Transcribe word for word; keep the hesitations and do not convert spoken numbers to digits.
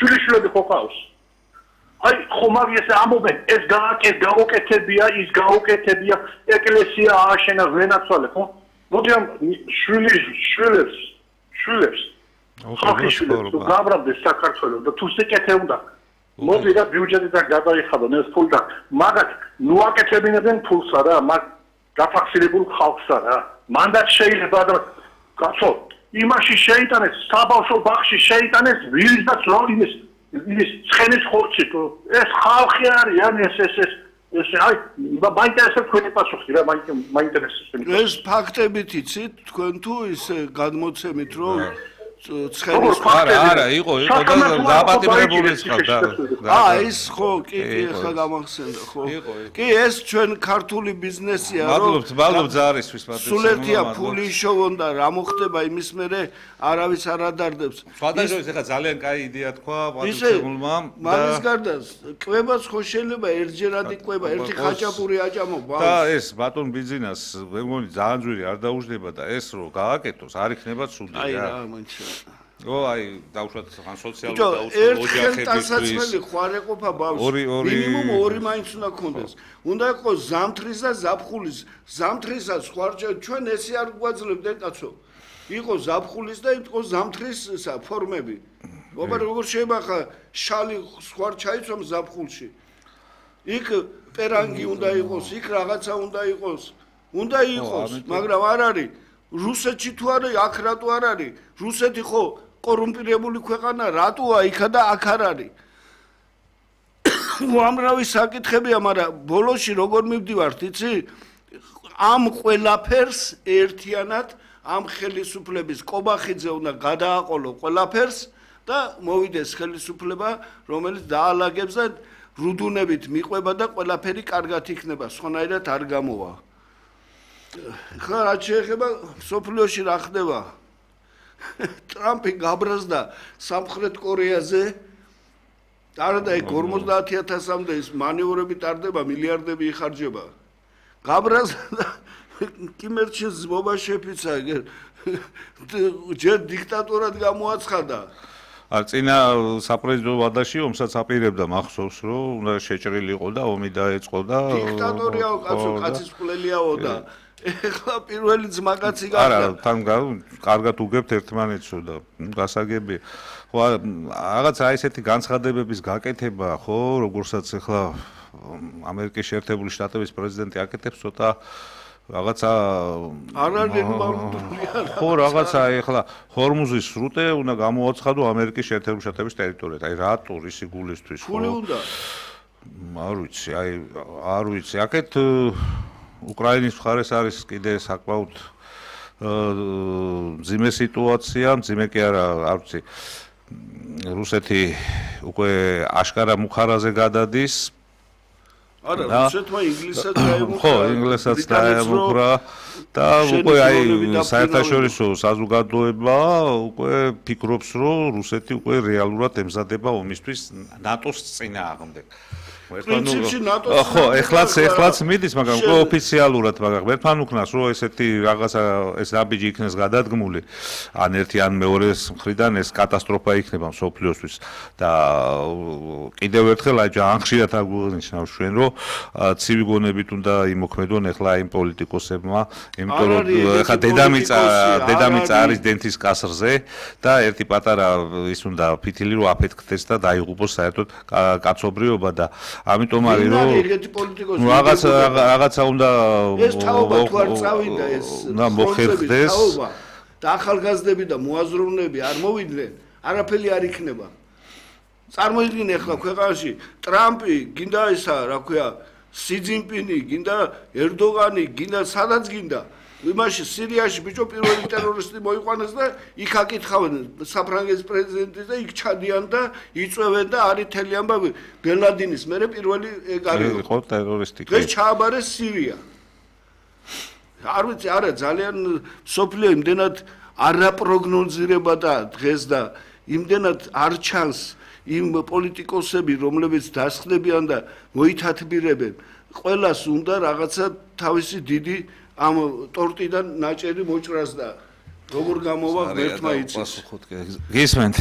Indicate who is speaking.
Speaker 1: შვილიშვილები ხო ყავს აი ხომარ ესე ამობენ ეს გააკეთ გაუკეთებია ის გაუკეთებია ეკლესია ააშენა ვენაცვალე ხო მოდი ამ შვილის შვილებს შვილებს ხალხი შვილებს გაბრაბდეს საქართველოს და თუ სიკეთე უნდა მოდი რა ბიუჯეტიდან გადაიხადონ ეს ფული და მაგათ ნუაკეთებინებენ ფულსა რა მაგ გაფაქსირებულ ხალხსა რა მანდაც შეიძლება და კაცო იმაში შეიტანეს საბავშვო ბაღში შეიტანეს ვირის და ძროლის ის ცხენის ხორცი ეს ხალხი არის ან ეს ეს ეს ეს აი მაინტერესებს თქვენი პასუხი რა მაინტერესებს
Speaker 2: ეს ფაქტებით იცით თქვენ თუ ის გადმოცემით რომ ცხენის
Speaker 3: არა არა იყო იყო და დაპატიმრებული ხარ და
Speaker 2: აა ის ხო კი კი ხა გამახსენდა ხო კი ეს ჩვენ ქართული ბიზნესია რომ
Speaker 3: მადლობთ მადლობთ ზარისთვის
Speaker 2: პატრიცია სულერთია ფული შოვონ და რა მოხდება იმის მერე არავის არ ადარდებს
Speaker 3: სხვადასხვა ეხლა ძალიან კაი იდეა თქვა პატრიციულმა
Speaker 2: და მაგის გარდა კვებას ხო შეიძლება ერთჯერად იყვება ერთი ხაჭაპური აჭამო
Speaker 3: და ეს ბატონ ბიზნეს მე მგონი ძალიან ძვირი არ დაუждდება და ეს რო გააკეთოს არ იქნება ცუდი რა
Speaker 2: აი რა მომჩა
Speaker 3: ო აი დავუშვათ ხან სოციალურ დაუშვათ
Speaker 2: ოჯახებისთვის ხوار ეყოფა ბავშვი მინიმუმ ორი მაინც უნდა გქონდეს უნდა იყოს ზამთრის და ზაფხულის ზამთრისაც ხوار ჩვენ ესე არ გვაძლევდნენ კაცო იყო ზაფხულის და იყო ზამთრის ფორმები ობა როგორ შეიძლება ხა შალი ხوار ჩაიცვამ ზაფხულში იქ პერანგი უნდა იყოს იქ რაღაცა უნდა იყოს უნდა იყოს მაგრამ არ არის რუსეთში თუ არა აქ რატო არ არის რუსეთი ხო კორუმპირებული ქვეყანა რატოა იქა და აქ არ არის უამრავი საკითხებია მაგრამ ბოლოში როგორ მივდივართ იცი ამ ყველაფერს ერთიანად ამ ხელისუფლების კობახიძე უნდა გადააყოლო ყველაფერს და მოვიდეს ხელისუფლება რომელიც დაალაგებს და რუდუნებით მიყვება და ყველაფერი კარგად იქნება სხვანაირად არ გამოვა ხა რა შეეხება სოფლიოში რა ხდება ტრამპი გაბრაზდა სამხრეთ კორეაზე არადა იქ ორმოცდაათი ათასამდე ის მანევრები ტარდება მილიარდები იხარჯება გაბრაზდა კიმერჩი ზმობა შეფიცა ჯერ დიქტატურად გამოაცხადა
Speaker 3: არ წინა საპრეზიდენტო ვადაში ომსაც აპირებდა მახსოვს რომ უნდა შეჭრილი იყო და ომი დაეწყო და
Speaker 2: დიქტატორიაო კაცო კაცის ყლელიაო და ეხლა პირველი ძმაკაცი გახდა
Speaker 3: არა თან კარგად უგებთ ერთმანეთსო და გასაგები ხო რაღაცა ესეთი განცხადებების გაკეთება ხო როგორცაც ეხლა ამერიკის შეერთებული შტატების პრეზიდენტი აკეთებს ცოტა რაღაცა
Speaker 2: არ არის ნორმალურია
Speaker 3: ხო რაღაცა ეხლა ჰორმუზის სრუტე უნდა გამოაცხადო ამერიკის შეერთებული შტატების ტერიტორიად აი რატო რისი გულისთვის
Speaker 2: ფული უნდა
Speaker 3: არ ვიცი აი არ ვიცი აქეთ უკრაინის მხარეს არის კიდე საკმაოდ მძიმე სიტუაცია მძიმე კი არა არ ვიცი რუსეთი უკვე აშკარა მუხარაზე გადადის
Speaker 2: არა რუსეთმა ინგლისსაც დაემუქრა
Speaker 3: ხო ინგლისსაც დაემუქრა და უკვე აი საერთაშორისო საზოგადოება უკვე ფიქრობს რომ რუსეთი უკვე რეალურად ემზადება ომისთვის ნატოს წინააღმდეგ
Speaker 2: პრინციპში ნატოს
Speaker 3: ხო ეხლაც ეხლაც მიდის მაგრამ უკვე ოფიციალურად მაგრამ ერთმან უკნას რომ ესეთი რაღაცა ეს ნაბიჯი იქნეს გადადგმული ან ერთი ან მეორეს მხრიდან ეს კატასტროფა იქნება მსოფლიოსთვის და კიდევ ერთხელ აი ძალიან ხშირად აგვნიშნავ ჩვენ რომ ცივი გონებით უნდა იმოქმედონ ეხლა იმ პოლიტიკოსებმა იმიტომ რომ ეხლა დედამიწა დედამიწა არის დენთის კასრზე და ერთი პატარა ის უნდა ფითილი რომ აფეთქდეს და დაიღუპოს საერთოდ კაცობრიობა და ამიტომ არის რომ რაღაცა რაღაცა უნდა
Speaker 2: ეს თაობა თუ არ წავიდა ეს
Speaker 3: და მოხერხდეს
Speaker 2: და ახალგაზრდები და მოაზროვნეები არ მოვიდნენ არაფერი არ იქნება წარმოიდგინე ახლა ქვეყანაში ტრამპი გინდა ისა რა ქვია სი ძინპინი გინდა ერდოგანი გინდა სადაც გინდა იმაში სირიაში ბიჭო პირველი ტერორისტი მოიყვანეს და იქ აკითხავენ საფრანგეთის პრეზიდენტის და იქ ჩადიან და იწვევენ და არის თელი ამბავი ბელადინის მერე პირველი ეგარი
Speaker 3: იყო ტერორისტი
Speaker 2: ეს ჩააბარეს სირია არ ვიცი არა ძალიან სოფლიო იმდენად არაპროგნოზირება და დღეს და იმდენად არ ჩანს იმ პოლიტიკოსები რომლებიც დასხდებიან და მოითათბირებენ ყველას უნდა რაღაცა თავისი დიდი ამ ტორტიდან ნაჭერი მოჭრას და როგორ გამოვა ერთმა იცის
Speaker 3: გისმენთ